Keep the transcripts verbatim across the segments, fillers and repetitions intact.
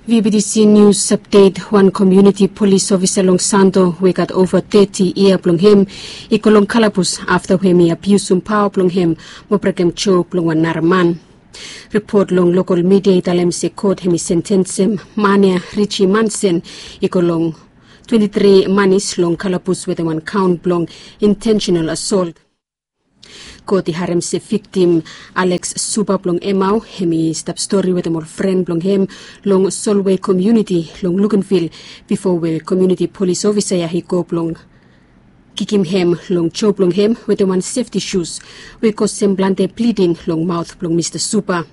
V B T C News Update. Wan komuniti polis ofisa long Santo we i gat ova teti yia blong hem i go long kalabus afta we hem i abiusum paoa blong hem mo brekem jo blong wan nara man. Ripot long lokal midia i talem se kot hem i sentensem man ya, Richi Mansen, i go long twenti tri manis long kalabus wetem wan kaon blong intentional assault. Kot i harem se viktim Alex Suba blong Emau hem i stap stori wetem ol fren blong hem long Solway komuniti long Luganville bifo we komuniti polis ofisa ya i go blong kikim hem long jo blong hem wetem wan sefti sus we i kosem plante bliding long maot blong Mista Suba.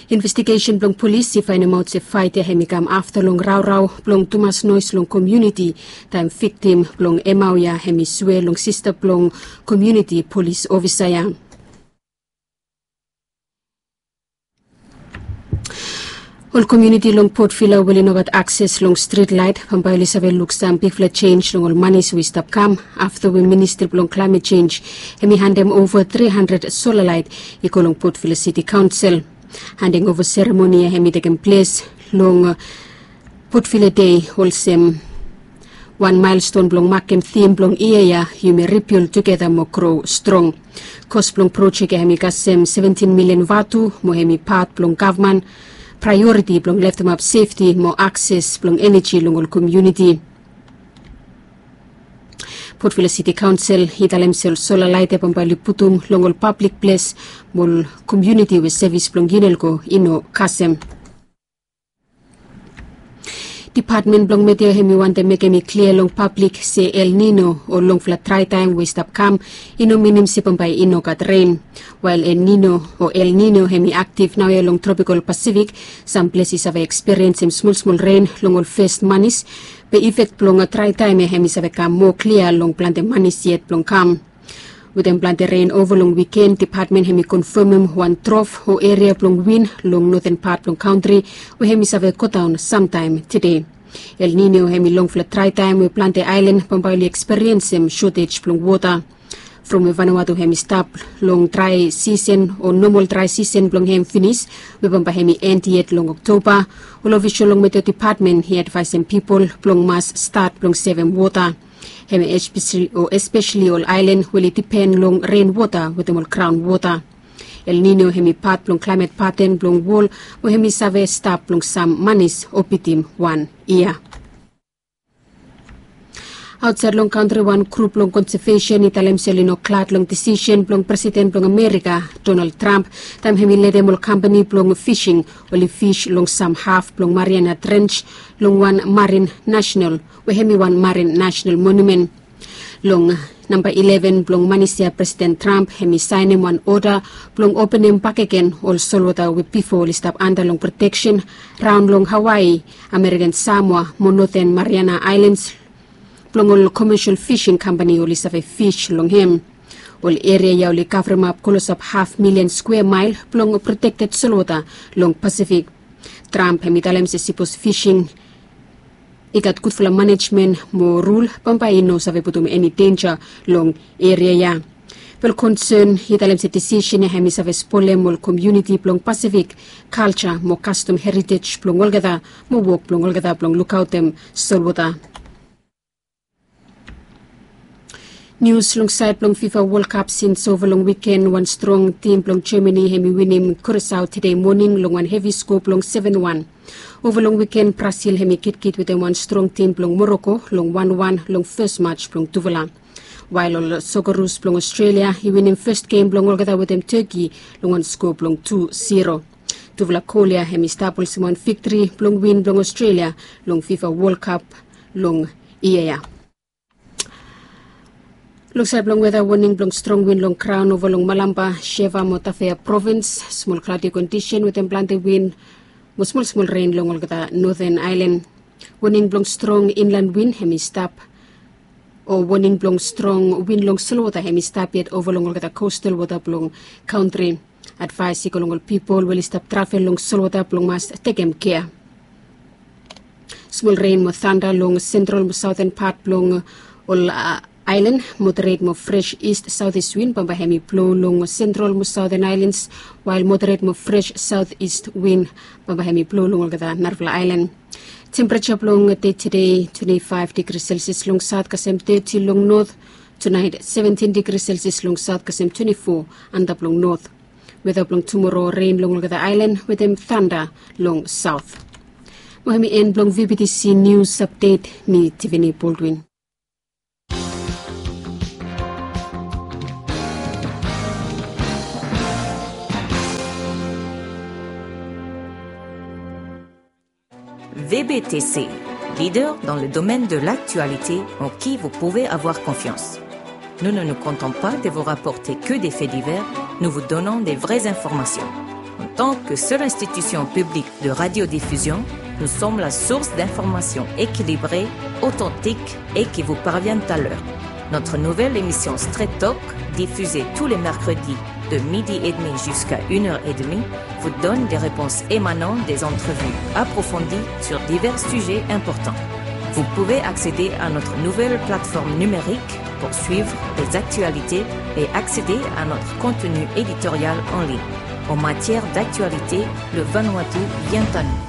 Investigesen blong polis i faenemaot se faet ya hem i kam afta long raorao blong tumas noes long komuniti taem viktim blong Emau ya hem i swea long sista blong komuniti polis ofisa ya. Ol komuniti long Port Vila we oli no gat akses long strit laet bambae oli save luk sam bigfala jenis long ol manis we i stap kam afta we Ministri blong Klaemet Jenj hem i handem ova tri handred sola laet i go long Port Vila Siti Kaonsel. Handing ova seremoni ya hem i tekem ples long Port Vila Dei olsem wan maelston blong makem tim blong yia ya, yumi ribild tugeta mo gro strong. Kos blong projek ya hem i kasem seventin milian vatu mo hem i pat blong gavman praeoriti blong leftemap sefti mo akses blong eneji long ol komuniti. Port Vila Siti Kaonsel i talem se ol sola laet ya bambae oli putum long ol pablik ples mo ol komuniti we sevis blong Unelco i no kasem. Dipatmen blong Meteo hem i wantem mekem i klia long pablik se El Nino o longfala draetaem we i stap kam i no minim se bambae i no gat ren. Wael El Nino o El Nino hem i aktif naoia long tropikal Pasifik, sam ples i save ekspiriensem smolsmol ren long ol fes manis. Be ifek blong draetaem ya hem i save kam moa klia long plante manis yet blong kam. Wetem plante ren ova long wiken, dipatmen hem i konfamem wan drof o eria blong win long noten pat blong kantri we hem i save godaon samtaem tede. El Nino hem i longfala draetaem we plante aelan bambae oli ekspiriensem sotej blong wota. From we Vanuatu hem i stap long drae sisen o nomol drae sisen blong hem finis we bambae hem i en yet long Oktoba, ol ofisol long Meteo Dipatmen i advaesem pipol blong mas stat blong sevem wota. Hem espeseli ol aelan we oli dipen long ren wota wetem ol graon wota. El Nino hem i pat blong klaemet paten blong wol we hem i save stap blong sam manis o bitim wan yia. Aotsaed long kantri wan grup blong konsevesen i talem se oli no glad long disisen blong Presiden blong Amerika, Donald Trump, taem hem i letem ol kampani blong fising oli fis long sam haf blong Mariana Trench long wan marin nasenal we hem i wan marin nasenal monumen. Long namba ileven blong manis ya Presiden Trump hem i saenem wan oda blong openem bakegen ol solwota we bifo oli stap anda long proteksen raon long Hawaii, Amerikan Samoa mo Noten Mariana Aelans blong ol komesel fising kampani oli save fis long hem. Ol eria ya oli kavremap klosap haf milian skwea mael blong protekted solwota long Pasifik. Trump hem i talem se sipos fising i gat gudfala manejmen mo rul, bambae i no save putum eni denja long eria ya. Be ol konsen i talem se disisen ya hem i save spolem ol komuniti blong Pasifik, kalja mo kastom heritej blong olgeta mo wok blong olgeta blong lukaotem solwota. Nius long saed blong FIFA Wol Kap. Sins ova long wiken, wan strong tim blong Jamani hem i winim Kurasao tede moning long wan hevi skoa blong seven one. Ova long wiken, Brasil hem i kitkit wetem wan strong tim blong Moroko long wan wan long fes maj blong tufala. Wael ol Sokorus blong Aostralia i winim fes gem blong olgeta wetem Teki long wan skoa blong tu siro. Tufala gol ya hem i stap olsem wan viktri blong win blong Aostralia long FIFA Wol Kap long yia ya. Long saed blong weta, woning blong strong win long graon ova long Malampa, Sheva mo Tafea provins. Smol kladi kondisen wetem plante win mo smolsmol ren long olgeta noten aelan. Woning blong strong inlan win hem i stap, o woning blong strong win long solwota hem i stap yet ova long olgeta kostal wota blong kantri. Advaes i go long ol pipol we oli stap travel long solwota blong mas tekem kea. Smol ren mo tanda long sentral mo saoten pat blong ol aelan, moderet mo fres ist saotis win bambae hemi blo long sentral mo saoten aelans, wael moderet mo fres saotis win bambae hemi blo long olgeta narafala aelan. Tempereja blong dei tede, twenti faef digri selsias long saot kasem teti long not. Tunaet, seventin digri selsias long saot kasem twenti fo antap long not. Weta blong tumoro, ren long olgeta aelan wetem tanda long saot. Mo hemi en blong V B T C News Update, mi Tiffany Baldwin. V B T C, leader dans le domaine de l'actualité en qui vous pouvez avoir confiance. Nous ne nous contentons pas de vous rapporter que des faits divers, nous vous donnons des vraies informations. En tant que seule institution publique de radiodiffusion, nous sommes la source d'informations équilibrées, authentiques et qui vous parviennent à l'heure. Notre nouvelle émission Straight Talk, diffusée tous les mercredis de midi et demi jusqu'à une heure et demie, vous donne des réponses émanant des entrevues approfondies sur divers sujets importants. Vous pouvez accéder à notre nouvelle plateforme numérique pour suivre les actualités et accéder à notre contenu éditorial en ligne. En matière d'actualité, le Vanuatu vient à nous.